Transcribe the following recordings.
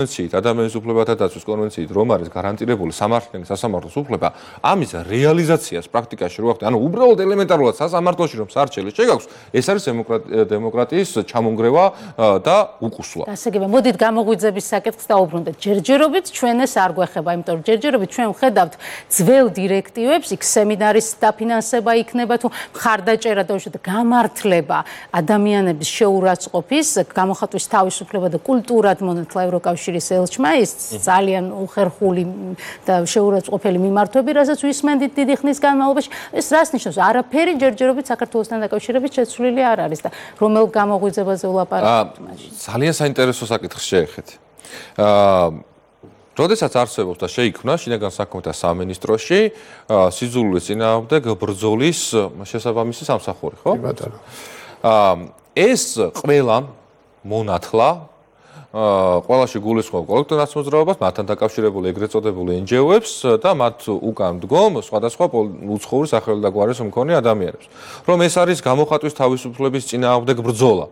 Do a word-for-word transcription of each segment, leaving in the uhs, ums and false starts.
კონვენციით, ადამიანის უფლებათა დაცვის კონვენციით, რომ არის გარანტირებული სამართლიანი სასამართლოს უფლება, ამის რეალიზაციას პრაქტიკაში რო ახდე, ანუ უბრალოდ ელემენტარულად სასამართლოში რომ სარჩელი შეგაქვს, ეს არის დემოკრატიის ჩამონგრევა და უკუსვა. ასე იგი, მოდით გამოღვიძების საკითხს დავუბრუნდეთ. ჯერჯერობით ჩვენ ეს არ გვეხება, იმიტომ რომ ჯერჯერობით ჩვენ ვხედავთ ძველ დირექტივებს, იქ სემინარის დაფინანსება იქნება თუ მხარდაჭერა და უშუალოდ გამართლება ადამიანების შეურაცხყოფის, გამოხატვის თავისუფლება და კულტურად მონათლა ევროკავშირის ელჩმა, ის ძალიან უხერხული და შეურაცხყოფელი მიმართვები, რასაც ვისმენდით დიდი ხნის განმავლობაში, ეს რას ნიშნავს? არაფერი ჯერჯერობით საქართველოსთან დაკავშირებით შეცვლილი არ არის და რომელ გამოღვიძებაზე ვლაპარაკობთ მაშინ? ძალიან საინტერესო საკითხს შეეხეთ. აა როდესაც არსებობს და შეიქმნა შინაგან საქმეთა სამინისტროში სიძულვის წინააღმდეგ ბრძოლის შესაბამისი სამსახური, ხო? კი ბატონო. აა ეს ყველა მონათლა ყველაში გულისხმობ კოლექტიურ მოძრაობას, მათთან დაკავშირებული ეგრეთ წოდებული εν ჯი ო-ებს და მათ უკან მდგომ სხვადასხვა უცხოური სახელი და გვარის მქონე ადამიანებს. რომ ეს არის გამოხატვის თავისუფლების წინააღმდეგ ბრძოლა.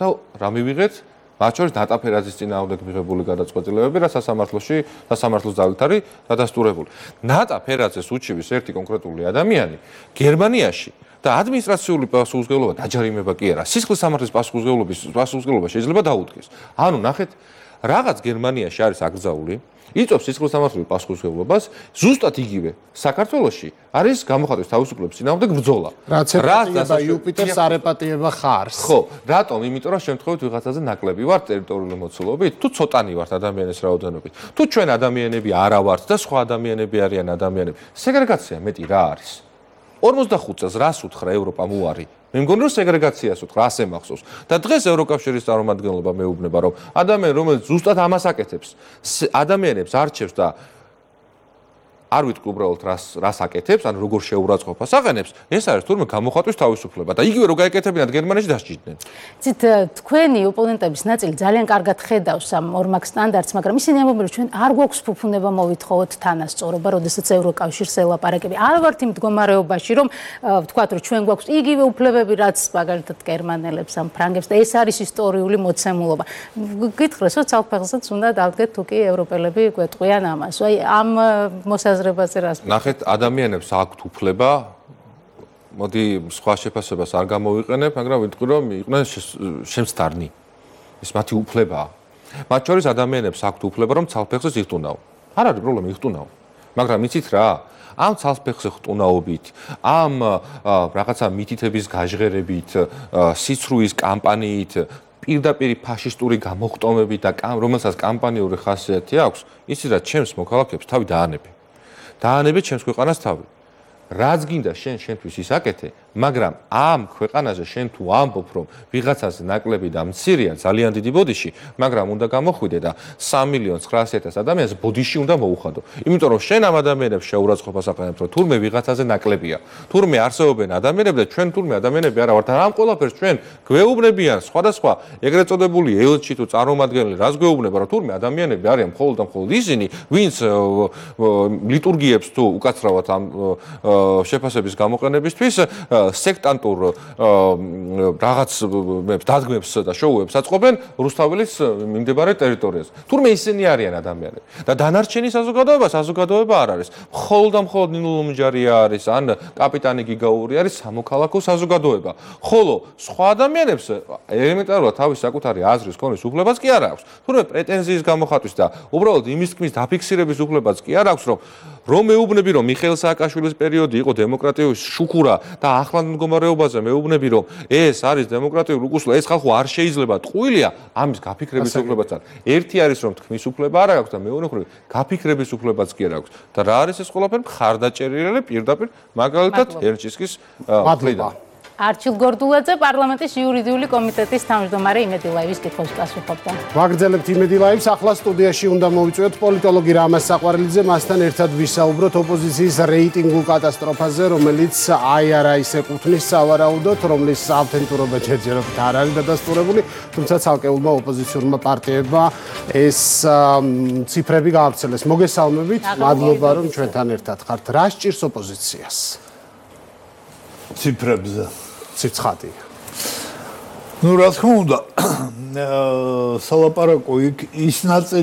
და რა მივიღეთ? მათ შორის ნატა ფერაძის წინააღმდეგ მიღებული გადაწყვეტილებები, რა სასამართლოში, სასამართლოს ძალით არის დადასტურებული. ნატა ფერაძეს უჩივის ერთი კონკრეტული ადამიანი გერმანიაში და ადმინისტრაციული პასუხისმგებლობა დაჯარიმება კი არა. სისხლის სამართლის პასუხისმგებლობის პასუხისმგებლობა შეიძლება დაუდგეს. ანუ ნახეთ, რაღაც გერმანიაში არის აკრძალული, იწვევს სისხლის სამართლის პასუხისმგებლობას, ზუსტად იგივე საქართველოში არის გამოხატვის თავისუფლების წინააღმდეგ ბრძოლა. რაც եպატიება იუპიტერს არ ეპატიება ხარს. ხო, რატომ? იმიტომ რომ შემთხვევით ვიღაცაზე ნაკლები ვართ ტერიტორიული მოცულობით, თუ ცოტანი ვართ ადამიანის რაოდენობით, თუ ჩვენ ადამიანები არა ვართ და სხვა ადამიანები არიან ადამიანები. სეგრეგაცია მეტი რა არის? ორმოცდახუთ წელს რას უთხრა ევროპამ უარი? მე მგონი რომ სეგრეგაციას უთხრა, ასე მახსოვს. და დღეს ევროკავშირის წარმომადგენლობა მეუბნება რომ ადამიანი რომელიც ზუსტად ამას აკეთებს, ადამიანებს არჩევს და არ ვიტყვი უბრალოდ რას რას აკეთებს, ანუ როგორ შეურაცხყოფას აყენებს, ეს არის თურმე გამოხატვის თავისუფლება და იგივე რო გაეკეთებინათ გერმანიაში დასჭირდნენ. ცით თქვენი ოპონენტების ნაწილი ძალიან კარგად ხედავს ამ ორმაგ სტანდარტს, მაგრამ ისინი ამბობენ რომ ჩვენ არ გვაქვს ფუფუნება მოვითხოვოთ თანასწორობა, როდესაც ევროკავშირს ელაპარაკები. არ ვართ იმ მდგომარეობაში, რომ ვთქვათ რომ ჩვენ გვაქვს იგივე უფლებები, რაც მაგალითად გერმანელებს ამ ფრანგებს და ეს არის ისტორიული მოცემულობა. გითხრეს რომ ცალფეხსაც უნდა დავდგეთ თუ კი ევროპელები გვეტყვიან ამას. აი ამ მოსაზრებაზე ნახეთ, ადამიანებს აქვთ უფლება, მოდი სხვა შეფასებას არ გამოვიყენებ, მაგრამ ვიტყვი რომ იყვნენ შემცდარნი. ეს მათი უფლებაა. მათ შორის ადამიანებს აქვთ უფლება რომ ცალფეხს იხტუნაო. არ არის პრობლემა იხტუნაო. მაგრამ იცით რა? ამ ცალფეხს ხტუნაობით, ამ რაღაცა მითითების გაჟღერებით, სიცრუის კამპანიით, პირდაპირ ფაშისტური გამოხტომებით და რომელსაც კამპანიური ხასიათი აქვს, იცით რა, ჩემს მოქალაქეებს თავი დაანებე. დაანებეთ ჩემს ქვეყანას თავი. რაც გინდა შენ შენთვის ის აკეთე, მაგრამ ამ ქვეყანაზე შენ თუ ამბობ რომ ვიღაცას ნაკლები და მცირეა ძალიან დიდი ბოდიში, მაგრამ უნდა გამოხვიდე და სამი მილიონი ცხრაასი ათასი ადამიანს ბოდიში უნდა მოუხადო. იმიტომ რომ შენ ამ ადამიანებს შეურაცხყოფას აყენებ, რომ თურმე ვიღაცაზე ნაკლებია. თურმე არსებობენ ადამიანები და ჩვენ თურმე ადამიანები არა ვართ. ამ ყველაფერს ჩვენ გვეუბნებიან სხვადასხვა ეგრეთ წოდებული ელჩი თუ წარმომადგენელი, რაც გვეუბნება რომ თურმე ადამიანები არიან მხოლოდ და მხოლოდ ისინი, ვინც ლიტურგიებს თუ უკაცრავად ამ შეფასების გამოყენებისთვის სექტანტურ რაღაცებს, დადგმებს და შოუებს აწყობენ რუსთაველის მიმდებარე ტერიტორიაზე. თურმე ისინი არიან ადამიანები. და დანარჩენი საზოგადოება, საზოგადოება არ არის. მხოლოდ და მხოლოდ ნინულუმჯარია არის, ან კაპიტანი გიგაური არის სამოქალაქო საზოგადოება. ხოლო სხვა ადამიანებს ელემენტარულად თავის საკუთარი აზრის ქონის უფლებაც კი არ აქვს. თურმე პრეტენზიის გამოხატვის და უბრალოდ იმის თქმის დაფიქსირების უფლებაც კი არ აქვს, რომ რომ მეუბნები რომ მიხეილ სააკაშვილის პერიოდი იყო დემოკრატიული შუქურა და ახლანდ მდგომარეობაზე მეუბნები რომ ეს არის დემოკრატიული უკუსლა, ეს ხალხო არ შეიძლება ტყუილია, ამის გაფიქრების უფლებაც არის. ერთი არის რომ თქმის უფლება არ აქვს და მეორე მხრივ გაფიქრების უფლებაც კი არ აქვს. და რა არის ეს ყველაფერი? მხარდაჭერილი პირდაპირ მაგალითად ერჩისკის მხრიდან. არჩილ გორდულაძე პარლამენტის იურიდიული კომიტეტის თავმჯდომარე იმედი ლაივის კითხვებს პასუხობდა. ვაგრძელებთ იმედი ლაივს, ახლა სტუდიაში უნდა მოვიწვიოთ პოლიტოლოგი რამაზ საყვარელიძე, მასთან ერთად ვისაუბროთ ოპოზიციის რეიტინგულ კატასტროფაზე, რომელიც აი არა ის ეკუთვნის სავარაუდოდ, რომლის ავთენტურობა ჯერჯერობით არ არის დადასტურებული, თუმცა ცალკეულმა ოპოზიციურმა პარტიებმა ეს ციფრები გაავრცელეს. მოგესალმებით, მადლობა რომ ჩვენთან ერთად ხართ. რა სჭირს ოპოზიციას? ციფრებზე. ციცხადი. Ну, რა თქმა უნდა, სალაპარაკო იქ ის ნაწილი